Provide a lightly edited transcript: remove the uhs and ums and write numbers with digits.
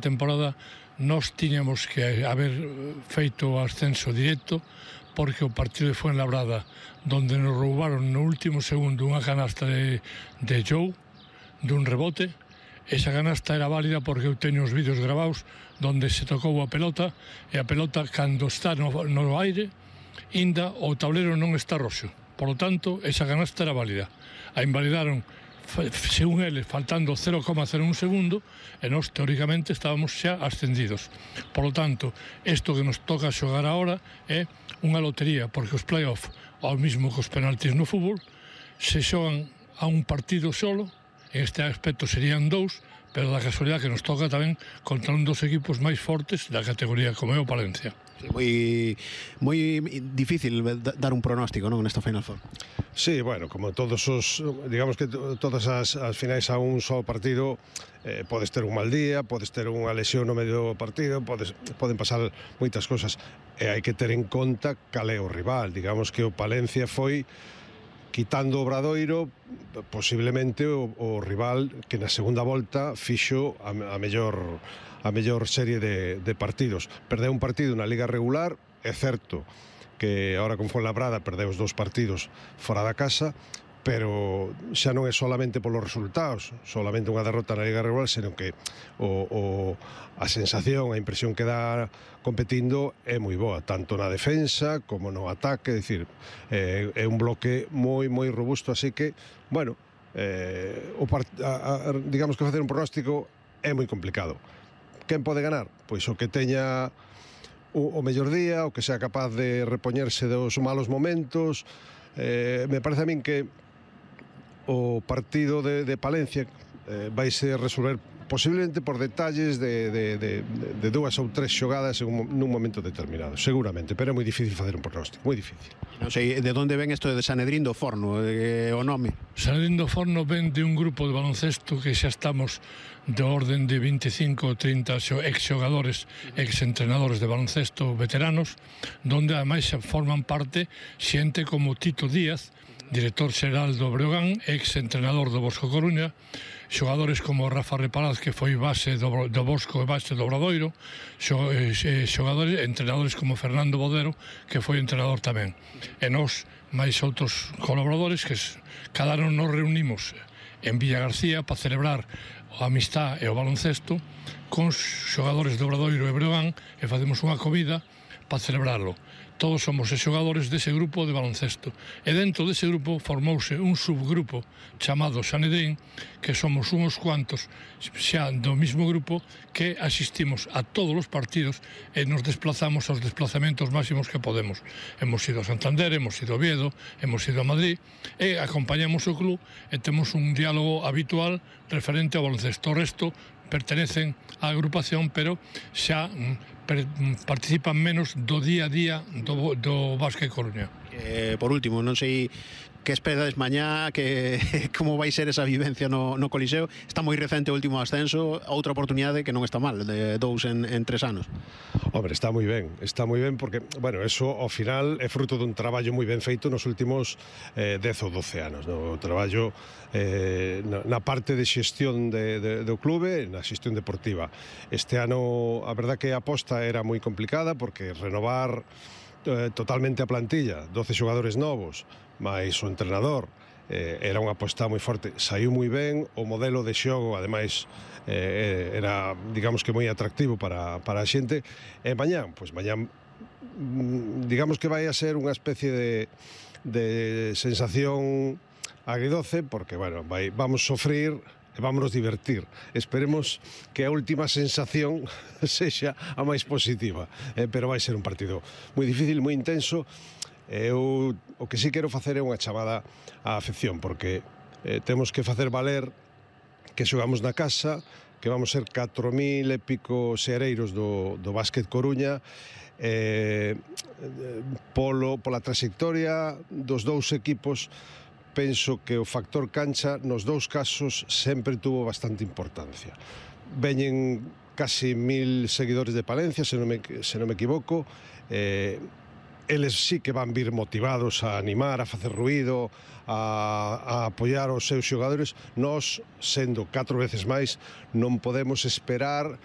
temporada nós tiñamos que haber feito o ascenso directo, porque o partido de Fuenlabrada, donde nos roubaron no último segundo unha canasta de Joe, dun rebote, esa canasta era válida porque eu teño os vídeos gravados donde se tocou a pelota, e a pelota, cando está no aire, inda o tablero non está roxo. Por lo tanto, esa canasta era válida. A invalidaron, según eles, faltando 0,01 segundo, e nós, teóricamente, estábamos xa ascendidos. Por lo tanto, isto que nos toca xogar agora é unha lotería, porque os play-off, ao mismo que os penaltis no fútbol, se xogan a un partido solo, en este aspecto serían 2, pero da casualidade que nos toca tamén contra un dos equipos máis fortes da categoría, como é o Palencia. Sí, moi difícil dar un pronóstico, non, nesta Final Four. Sí, bueno, como todos os, digamos que todas as finais a un só partido, podes ter un mal día, podes ter unha lesión no medio do partido, poden pasar moitas cosas, e hai que ter en conta cal é o rival. Digamos que o Palencia foi, quitando o Obradoiro, posiblemente o rival que na segunda volta fixo a mellor serie de partidos. Perdeu un partido na Liga regular, é certo que agora con Fuenlabrada perdeu os 2 partidos fora da casa, pero xa non é solamente polos resultados, solamente unha derrota na Liga regular, senón que a sensación, a impresión que dá competindo é moi boa, tanto na defensa como no ataque, é dicir, é un bloque moi robusto, así que, bueno, digamos que facer un pronóstico é moi complicado. Quen pode ganar? Pois o que teña o mellor día, o que sea capaz de repoñerse dos malos momentos. Me parece a min que o partido de Palencia vaise resolver posiblemente por detalles de 2 ou 3 xogadas nun momento determinado, seguramente, pero é moi difícil facer un pronóstico, moi difícil. Non sei de onde ven isto de Sanedrín do Forno, o nome. Sanedrín do Forno ven de un grupo de baloncesto que xa estamos de orden de 25 ou 30 ex-xogadores, ex-entrenadores de baloncesto veteranos, donde ademais forman parte xente como Tito Díaz, director xeral do Breogán, ex-entrenador do Bosco Coruña, xogadores como Rafa Reparaz, que foi base do Bosco e base do Obradoiro, xogadores, entrenadores como Fernando Bodero, que foi entrenador tamén. E nós, máis outros colaboradores, que cada ano nos reunimos en Villa García para celebrar a amistad e o baloncesto con xogadores do Obradoiro e Breogán, e facemos unha comida para celebrarlo. Todos somos xogadores dese grupo de baloncesto. E dentro dese grupo formouse un subgrupo chamado Sanedrín, que somos uns cuantos xa do mismo grupo que asistimos a todos os partidos e nos desplazamos aos desplazamentos máximos que podemos. Hemos ido a Santander, hemos ido a Oviedo, hemos ido a Madrid, e acompañamos o club e temos un diálogo habitual referente ao baloncesto. O resto pertenecen á agrupación, pero xa participan menos do día a día do Básquet Coruña. Por último, non sei que esperades mañá, como vai ser esa vivencia no Coliseo. Está moi recente o último ascenso, outra oportunidade que non está mal, de 2 en 3 anos. Hombre, está moi ben porque, bueno, eso ao final é fruto dun traballo moi ben feito nos últimos 10 ou 12 anos, no? O traballo na parte de xestión do clube, na xestión deportiva. Este ano, a verdad que a aposta era moi complicada, porque renovar totalmente a plantilla, 12 xogadores novos, máis o entrenador, era unha aposta moi forte. Saiu moi ben, o modelo de xogo, ademais, era, digamos que moi atractivo para a xente. E mañá, digamos que vai a ser unha especie de sensación agridoce, porque, bueno, vamos sofrir e vámonos divertir. Esperemos que a última sensación sexa a máis positiva, pero vai ser un partido moi difícil, moi intenso. Eu o que sí quero facer é unha chamada á afección, porque temos que facer valer que xogamos na casa, que vamos ser 4.000 e pico seareiros do Básquet Coruña, pola trayectoria dos 2 equipos. Penso que o factor cancha nos 2 casos sempre tuvo bastante importancia. Veñen casi 1.000 seguidores de Palencia, se non me equivoco. Eles sí que van vir motivados a animar, a facer ruído, a apoiar os seus xogadores. Nós, sendo 4 veces máis, non podemos esperar